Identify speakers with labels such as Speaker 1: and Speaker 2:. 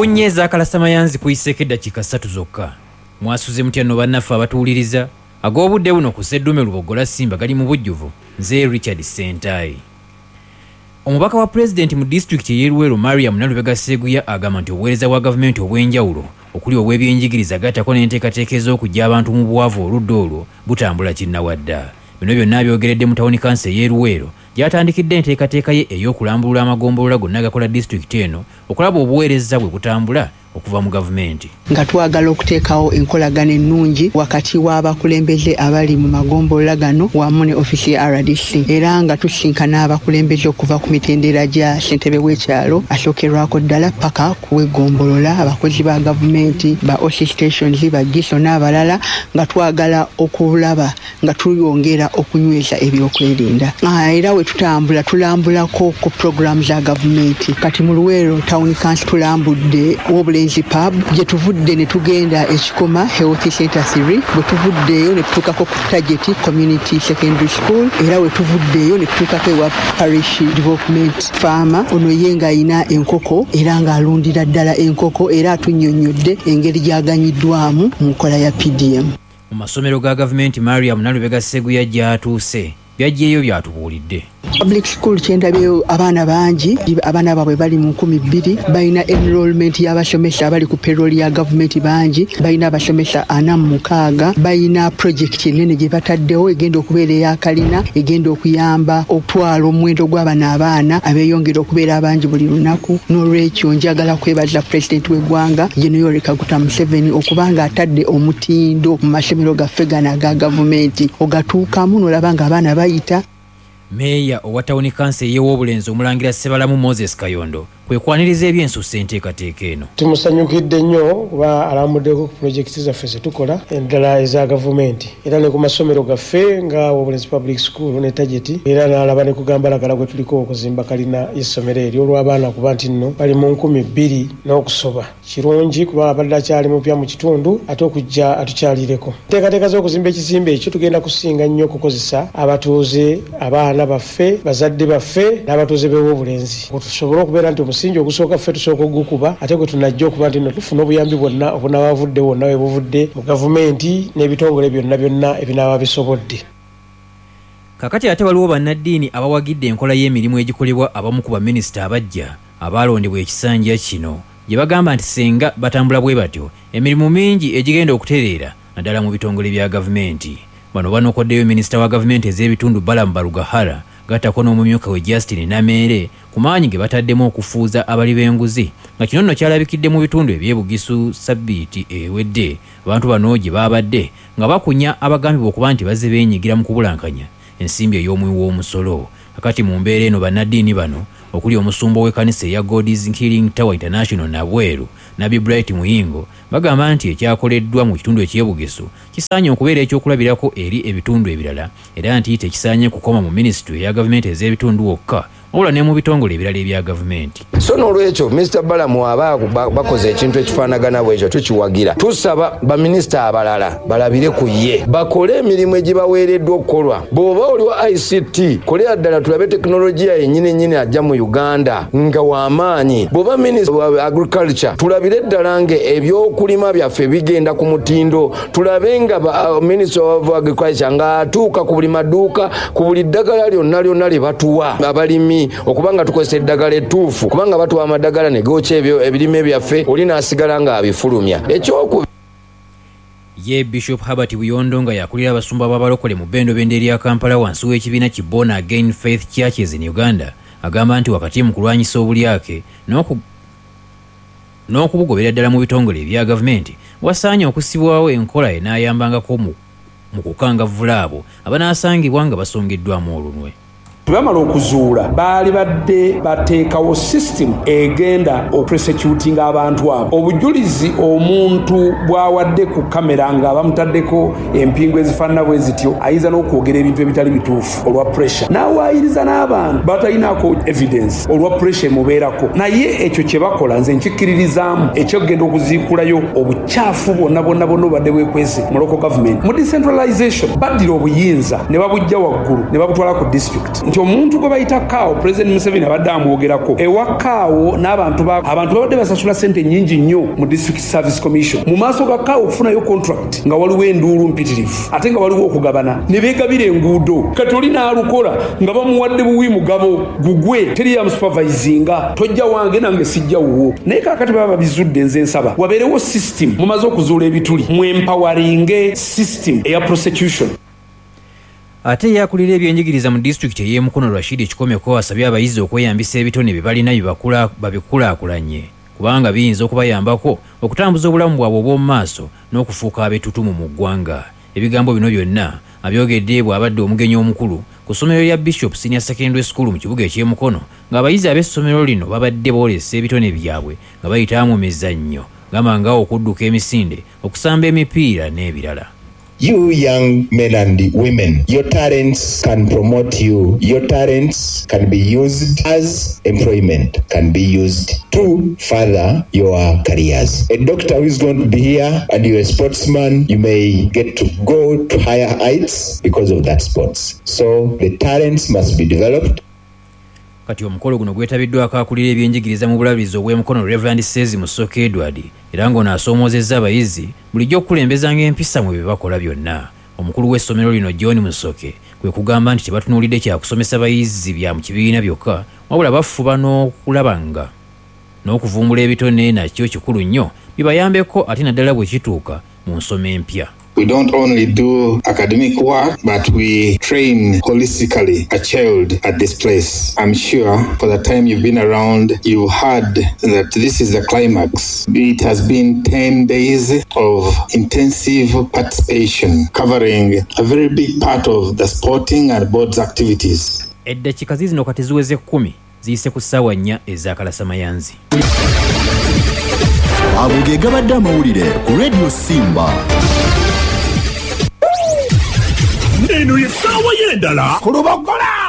Speaker 1: Ku nnya ez'akalasamayanzi kuyiseeko eddakiika 3 zokka. Mwasuze mutya nno bannaffe abatuwuliriza? Ag'obudde buno ku Sseddume Luboggola Simba gali mu bujjuvu. Nze Richard Ssentayi. Omubaka wa Pulezidenti mu disitulikiti ey'e Luweero Mariam Nalubega Sseguya agamba nti obuweereza bwa gavumenti obw'enjawulo okuli obw'ebyenjigiriza gattako n'enteekateeka ez'okuggya abantu mu bwavu oludda olwo butambula kinnawadda. Bino byonna abyogeredde mu tawuni kanso ey'e Luweero gy'atandikidde enteekateeka ye ey'okulambulula amagombolola gonna agakola disitulikiti eno okulaba obuweereza bwe butambula okuva mu gavumenti.
Speaker 2: Nga twagala okuteekawo enkolagana ennungi wakati w'abakulembeze abali mu magombolola gano wamu ne ofiisi ya rdc era nga tusisinkana abakulembeze okuva ku mitendera gya ssentebe w'ekyalo asookerwako ddala paka ku w'eggombolola, abakozi ba gavumenti, ba OC stations, ba GISO n'abalala nga twagala okulaba nga tuyongera okunyweza ebyokwerinda. Era we tutambula tulambulako ku pulogulaamu za gavumenti. Kati mu Luweero Town Council tulambudde Wobulenzi Pub, gye tuvudde ne tugenda e Kikoma Health Center 3, bwe tuvuddeeyo ne tutuukako ku Target Community Secondary School, era we tuvuddeeyo ne tutuukako ewa Parish Development Farmer. Ono ye ng'alina enkoko era ng'alundira ddala enkoko era atunnyonnyodde engeri gy'aganyiddwamu mu nkola ya PDM.
Speaker 1: Mu masomero ga gavumenti Mariam Nalubega Sseguya gy'atuuse by'aggyeeyo by'atubuulidde.
Speaker 2: Public school kyendabyeyo abaana bangi, abaana baabwe bali mu 2000, balina enrollment y'abasomesa abali ku payroll ya gavumenti bangi, balina abasomesa 46, balina project ennene gye bataddewo egenda okubeera eya kalina egenda okuyamba okutwala omuwendo gw'abano abaana abeeyongera okubeera abangi buli lunaku. N'olwekyo njagala kwebaza pulezidenti w'eggwanga Gen Yoweri Kaguta Museveni okuba ng'atadde omutindo mu masomero gaffe gano aga gavumenti, ogatuukamu n'olaba ng'abaana bayita.
Speaker 1: Meeya owa tawuni kanso ey'e Wobulenzi Omulangira Ssebalamu Moses Kayondo kwe kwaniriza eby'ensusso enteekateeka eno.
Speaker 3: Tumusanyukidde nnyo kuba alambuddeko ku pulojekiti zaffe ze tukola naddala eza gavumenti era ne ku masomero gaffe nga Wobulenzi Public School ne Target era n'alaba ne ku gambalagala gwe tuliko okuzimba kalina y'essomero eryo olw'abaana kuba nti nno bali mu 2000 n'okusoba. Kirungi kuba abadde akyali mupya mu kitundu ate okujja atukyalireko. Enteekateeka z'okuzimba ekizimbe ekyo tugenda kusinga nnyo okukozesa abatuuze, abaana baffe, bazadde baffe n'abatuuze b'e Wobulenzi tusobole okubeera nti omusingi ogusooka ffe tusooka okugukuba ate gwe tunajja okuba nti nno tufuna obuyambi bwonna obunaaba buvudde wonna we buvudde mu gavumenti n'ebitongole byonna byonna ebinaaba bisobodde.
Speaker 1: Kakati ate waliwo bannaddiini abawagidde enkola y'emirimu egikolebwa abamu ku baminisita abaggya abaalondebwa ekisanja kino gye bagamba nti singa batambula bwe batyo emirimu mingi egigenda okutereera naddala mu bitongole bya gavumenti. Bano banokoddeyo minisita wa gavumenti ez'ebitundu Balaam Barugahara gattako n'omumyuka we Justine Nameere ku maanyi ge bataddemu okufuuza abali b'enguzi nga kino nno kyalabikidde mu bitundu eby'e Bugisu ssabbiiti ewedde abantu bano gye baabadde nga bakunya abagambibwa okuba nti bazze beenyigira mu kubulankanya ensimbi ey'omuwi w'omusolo. Kakati mu mbeera eno bannaddiini bano okuli omusumba ow'ekkanisa eya God's Healing Tower International Nabweru, Nabbi Bright Muyingo bagamba nti ekyakoleddwa mu kitundu eky'e Bugisu kisaanye okubeera ekyokulabirako eri ebitundu ebirala era nti tekisaanye kukoma mu minisitule eya gavumenti ez'ebitundu wokka wabula ne mu bitongole ebirala ebya gavumenti.
Speaker 4: So n'olwekyo Mister Balaam aba bakoze ekintu ekifaanagana bwekyo tukiwagira. Tusaba baminisita abalala balabire ku ye bakole emirimu egibaweereddwa okukolwa. Bw'oba oli wa ICT kolera ddala tulabe tekinologiya yennyini nnyini ajja mu Uganda nga w'amaanyi. Bw'oba minisita wa agriculture tulabire ddala nga ebyokulima byaffe bigenda ku mutindo, tulabe nga minisita wa agriculture ng'atuuka ku buli maduuka ku buli ddagala lyonna lyonna lye batuwa abalimi okuba nga tukozesa eddagala ettuufu, kubanga batuwa amadagala ne gookya ebirime byaffe oli n'asigala ng'abifulumya. Ekyoku
Speaker 1: Ye Bishop Herbert Buyondo nga yakulira abasumba b'abalokole mu bbendobendo erya Kampala wansi w'ekibiina ki Born Again Faith Churches in Uganda agamba nti wakati mu kulwanyisa obulyake n'okubugobera ddala mu bitongole ebya gavumenti wasaanye okussibwawo enkola enaayambangako mu kukangavvula abo abanaasangibwa nga basongeddwamu olunwe.
Speaker 5: Bwe bamala okuzuula baali badde bateekawo system egenda okuprosecutinga abantu abo. Obujulizi omuntu bw'awadde ku kamera nga bamutaddeko empingu ezifaanana bwe zityo ayinza n'okwogera ebintu ebitali bituufu olwa pressure, n'awaayiriza n'abantu batalinaako evidence olwa pressure emubeerako. Naye ekyo kye bakola nze nkikkiririzaamu eky'okugenda okuziikulayo obukyafu bwonna bwonna bwonna obubadde bwekwese mu local government. Mu decentralization baddira obuyinza ne babuggya waggulu ne babutwala ku district. Nti Omuntu gwe bayita Kaawo, President Museveni abadde amwogerako ewa Kaawo n'abantu ba abantu babadde basasula sente nnyingi nnyo mu District Service Commission. Mu maaso ga Kaawo okufunayo contract nga waliwo enduulu mpitirivu, ate nga waliwo okugabana ne beegabira enguudo. Kati oli n'alukola nga bamuwadde buwi mugabo gugwe, teri yamusupervisinga, tojja wange nange sijja wuwo. Naye kaakati baba babizudde, nze nsaba wabeerewo system. Mumaze okuzuula ebituli, mwempawaringe system eya prosecution.
Speaker 1: Ate ye akulira ebyenjigiriza mu disitulikiti ey'e Mukono Rashid Kikomeko asabye abayizi okweyambisa ebitone bye balina babikulaakulanye kubanga biyinza okubayambako okutambuza obulamu bwabwe obw'omu maaso n'okufuuka ab'ettutumu mu ggwanga. Ebigambo bino byonna abyogedde bw'abadde omugenyi omukulu ku ssomero lya Bishop Senior Secondary School mu kibuga eky'e Mukono ng'abayizi ab'essomero lino babadde boolesa ebitone byabwe nga bayita mu mizannyo gamba nga okudduka emisinde, okusamba emipiira n'ebirala.
Speaker 6: You young men and women, your talents can promote you, your talents can be used as employment, can be used to further your careers. A doctor who is going to be here and you're a sportsman, you may get to go to higher heights because of that sports. So the talents must be developed.
Speaker 1: Kati omukolo guno gwetabiddwako akulira ebyenjigiriza mu bulabirizi obw'e Mukono Rev Sezi Musoke Edward era ng'ono asoomoozezza abayizi bulijjo okukulembezanga empisa mu bye bakola byonna. Omukulu w'essomero lino John Musoke kwe kugamba nti tebatunuulidde kya kusomesa bayizi bya mu kibiina byokka wabula bafuba n'okulaba nga n'okuvumbula ebitone nakyo kikulu nnyo bibayambeko ate naddala bwe kituuka mu nsoma empya.
Speaker 7: We don't only do academic work, but we train holistically a child at this place. I'm sure for the time you've been around, you've heard that this is the climax. It has been 10 days of intensive participation, covering a very big part of the sporting and boards activities.
Speaker 1: Eddakiika ziizino kati ziweze 10 ziyise ku ssaawa 4 ez'akalasamayanzi.
Speaker 8: Ago ge gabadde amawulire ku Radio Simba.
Speaker 9: Eno ye ssaawa y'endala
Speaker 10: ku Lubogola.